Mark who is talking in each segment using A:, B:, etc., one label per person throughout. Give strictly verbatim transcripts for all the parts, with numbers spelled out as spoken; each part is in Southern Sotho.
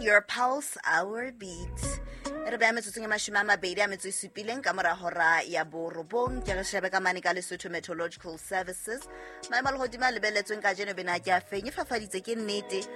A: One, your pulse, our beat. E re beha metsotsong e mashome a mabedi a metso e supileng ka mora hora ya borobong. Ke re shebe ka mane ka Lesotho Meteorological Services. Maemo a lehodimo a lebelletsweng kajeno bena ke a feng, e fafaditse ke nnete.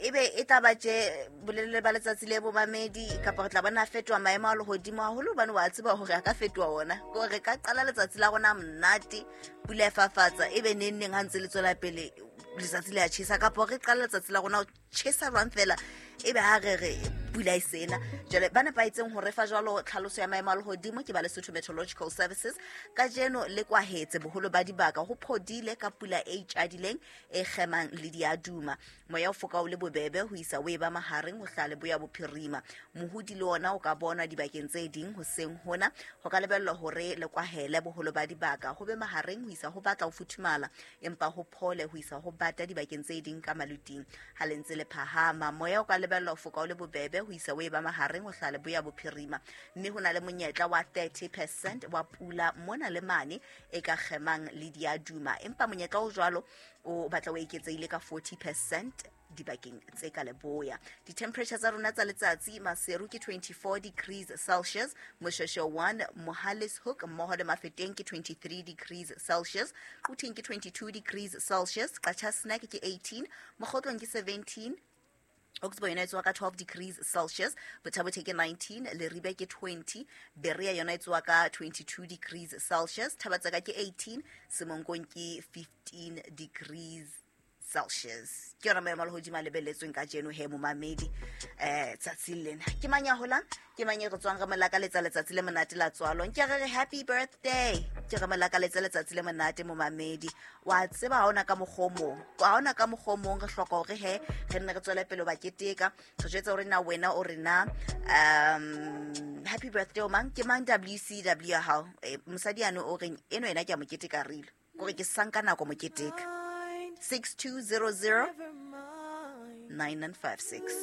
A: Ebe e tla ba tje bolelele ba letsatsi le bomamedi, kapa re tla bona a fetoha maemo a lehodimo haholo, hobane wa tseba hore a ka fetoha ona. Ke hore re ka qala letsatsi la rona monate, pula e fafatsa, ebe neng neng ha ntse le tswela pele letsatsi le a tjhesa, kapa re qala letsatsi la rona ho tjhesa jwang fela, ebe ha re re pula e sena. Jwale ba nepahetseng ho re fa jwalo tlhaloso ya maemo a lehodimo ke ba Lesotho Meteorological Services. Kajeno le kwahetse boholo ba dibaka, ho phodile ka pula e itjadileng e kgemang le diaduma. Moya o foka o le bobebe ho isa o e ba mahareng ho hlaha leboya bophirima. Mohodi le ona o ka bonwa dibakeng tse ding hoseng hona. Ho ka lebellwa hore le kwahele boholo ba dibaka, ho be mahareng ho isa ho batla ho futhumala, empa ho phole ho isa ho bata dibakeng tse ding ka maluting. Ha le ntse le phahama, moya o ka lebellwa ho foka o le bobebe ho isa o e ba mahareng ho hlaha leboya bophirima, mme ho na le monyetla wa thirty percent wa pula mona le mane e ka kgemang le diaduma, empa monyetla o jwalo o batla o eketsehile ka forty percent dibakeng tse ka leboya. Di-temperature tsa rona tsa letsatsi, Maseru ke twenty-four degrees Celsius, Moshoeshoe one, Mohale's Hoek mmoho le Mafeteng ke twenty-three degrees Celsius, Quthing ke twenty-two degrees Celsius, Qacha's Nek ke eighteen, Mokhotlong ke seventeen, Oxbow yona e tsoha ka twelve degrees Celsius, Botha-Bothe ke nineteen, Leribe ke twenty, Berea yona e tsoha ka twenty-two degrees Celsius, Thabatseka ke eighteen, Semonkong ke fifteen degrees Celsius. Ke yona maemo a lehodimo a lebelletsweng kajeno he momamedi, eh, tsatsing lena. Ke mang ya holang? Ke mang e re tswang re mo lakaletsa letsatsi le monate la tswalo? Nke re re happy birthday. Ke re mo lakaletsa letsatsi le monate momamedi. Wa tseba ha hona ka mokgwa o mong. Ha hona ka mokgwa o mong re hloka hore he re nne re tswele pele ho ba keteka. Re jwetsa hore na wena o re na, um, happy birthday o mang? Ke mang W C W ya hao? Eh, mosadi yane o reng eno yena ke a mo keteka rile. Kore ke sanka nako mo keteka. six two zero zero nine nine five six.